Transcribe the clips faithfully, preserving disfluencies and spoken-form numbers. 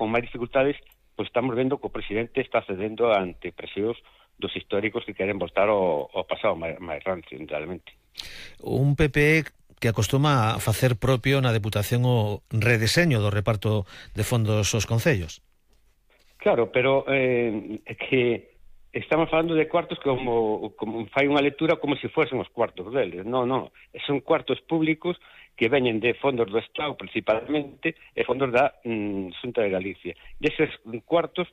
con máis dificultades, pois estamos vendo que o presidente está cedendo ante presións dos históricos que queren voltar ao, ao pasado máis, máis rancio, realmente. Un P P que acostuma a facer propio na Deputación o redeseño do reparto de fondos aos concellos. Claro, pero eh, é que estamos falando de cuartos como, como fai unha lectura como se fuesen os cuartos deles. Non, non, son cuartos públicos que veñen de fondos do Estado principalmente e fondos da mm, Xunta de Galicia. E eses cuartos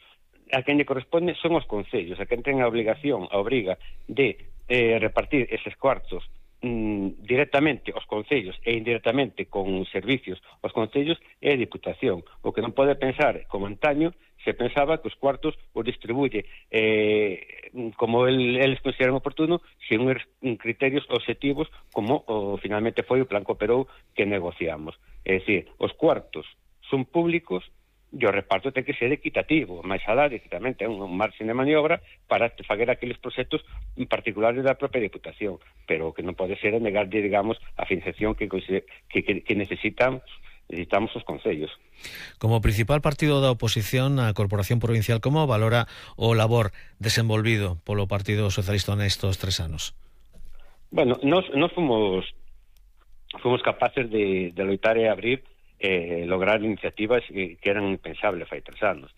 a quen lle corresponde son os concellos, a quen ten a obligación, a obriga de eh, repartir eses cuartos mm, directamente aos concellos e indirectamente con servicios aos concellos é a Diputación. O que non pode pensar, como antaño, se pensaba que os cuartos os distribuye eh, como el, eles consideran oportuno, sen uns criterios objetivos como o, finalmente foi o plan Cooperou que negociamos. É dicir, os cuartos son públicos e o reparto ten que ser equitativo, máis alá de que tamén ten un marxen de maniobra para fazer aqueles proxectos particulares da propia Diputación, pero o que non pode ser é negar, digamos, a financiación que, que, que necesitan necesitamos os concellos. Como principal partido da oposición á Corporación Provincial, como valora o labor desenvolvido polo Partido Socialista nestos tres anos? Bueno, nos, nos fomos fomos capaces de, de loitar e abrir eh, lograr iniciativas que, que eran impensables fai tres anos.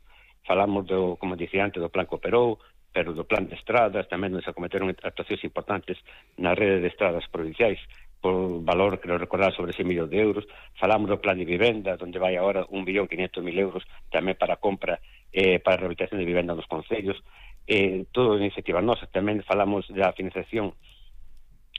Falamos, do, como dicía antes, do plan Cooperou, pero do plan de estradas, tamén nos acometeron actuacións importantes na rede de estradas provinciais, por valor, creo recordar, sobre seis millóns de euros. Falamos do plan de vivenda, onde vai agora un billón quinientos mil euros tamén para a compra, eh, para a rehabilitación de vivenda nos concellos. Eh, todo iniciativa nosa. Tamén falamos da financiación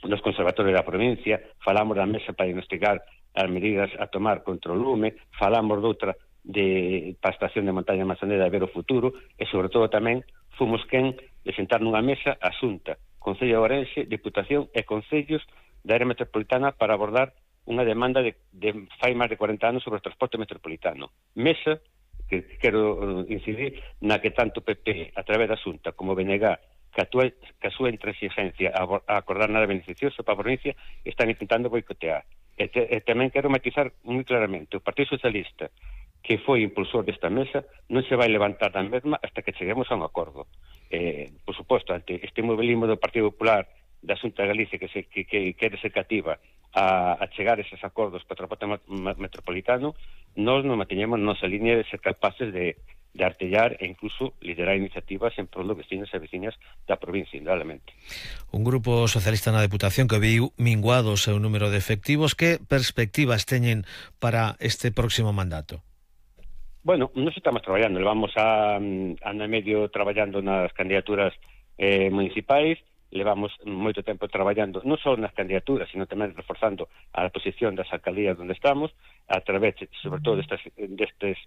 dos conservatorios da provincia, falamos da mesa para diagnosticar as medidas a tomar contra o lume, falamos doutra de, para a estación de montaña Manzaneda de ver o futuro, e sobre todo tamén fomos quen de sentar nunha mesa a Xunta, Concello de Ourense, Diputación e Concellos da área metropolitana para abordar unha demanda de, de fai máis de cuarenta anos sobre o transporte metropolitano. Mesa, que quero incidir, na que tanto P P, a través da Xunta, como B N G, que a, tua, que a súa intransigencia a, a acordar nada beneficioso para a provincia, están intentando boicotear. E, te, e tamén quero matizar moi claramente, o Partido Socialista, que foi impulsor desta mesa, non se vai levantar da mesma hasta que cheguemos a un acordo. Eh, por suposto, ante este mobilismo do Partido Popular da Xunta de Galicia que, se, que, que quere ser cativa a, a chegar a eses acordos para o transporte metropolitano, nós non manteñemos nosa línea de ser capaces de, de artellar e incluso liderar iniciativas en prol dos vecinos e veciñas da provincia, indudablemente. Un grupo socialista na Deputación que viu minguado o seu número de efectivos. Que perspectivas teñen para este próximo mandato? Bueno, nos estamos traballando, levamos a ano e medio traballando nas candidaturas eh, municipais, levamos moito tempo traballando non só nas candidaturas, sino tamén reforzando a posición das alcaldías onde estamos, a través, sobre todo, destes, destes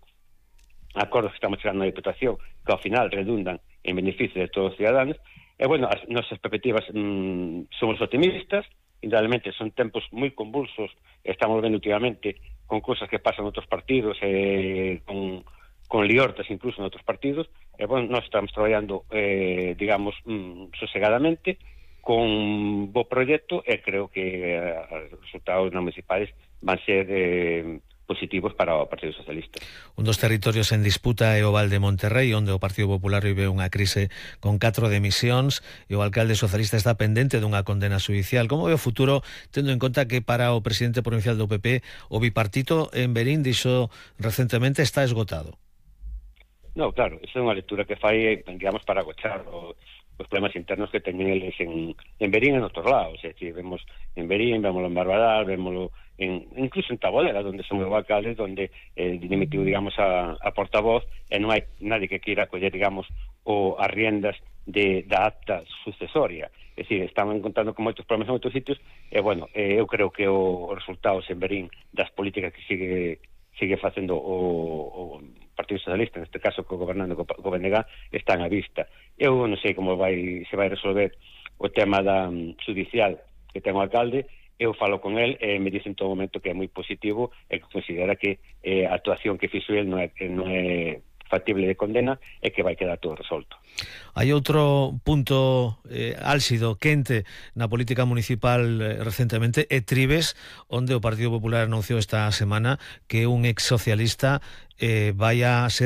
acordos que estamos chegando na Diputación, que ao final redundan en beneficio de todos os ciudadanos. E, bueno, as nosas perspectivas mmm, somos optimistas, indudablemente son tempos moi convulsos, estamos vendo últimamente con cousas que pasan en outros partidos, eh, con... con liortas incluso en outros partidos, e, bueno, nós estamos traballando, eh, digamos, mm, sosegadamente, con bo proxecto, e creo que eh, os resultados non municipais van ser eh, positivos para o Partido Socialista. Un dos territorios en disputa é o Val de Monterrey, onde o Partido Popular vive unha crise con catro demisións, e o alcalde socialista está pendente dunha condena judicial. Como ve o futuro, tendo en conta que para o presidente provincial do P P o bipartito en Verín dixo recentemente está esgotado? No, claro, esa é unha lectura que fai, digamos, para agochar o, os problemas internos que teñen eles en, en Verín e en outros lados. É dicir, vemos en Verín, vemos en Barbadal, vemos en, incluso en Tabolera, onde son os alcaldes, onde eh, dimitiu, digamos, a, a portavoz, e non hai nadie que queira coller, digamos, o, as riendas de, da acta sucesoria. É dicir, están encontrando con moitos problemas en outros sitios, e, bueno, eh, eu creo que o, os resultados en Verín das políticas que sigue sigue facendo o, o Partido Socialista, neste caso co gobernando co, co B N G, están á vista. Eu non sei como vai se vai resolver o tema da um, judicial que ten o alcalde. Eu falo con el e me dice en todo momento que é moi positivo e que considera que eh, a actuación que fixo el non é, non é factible de condena e que vai quedar todo resolto. Hai outro punto eh, álxido, quente na política municipal eh, recentemente, é Trives, onde o Partido Popular anunciou esta semana que un ex socialista eh, vai a ser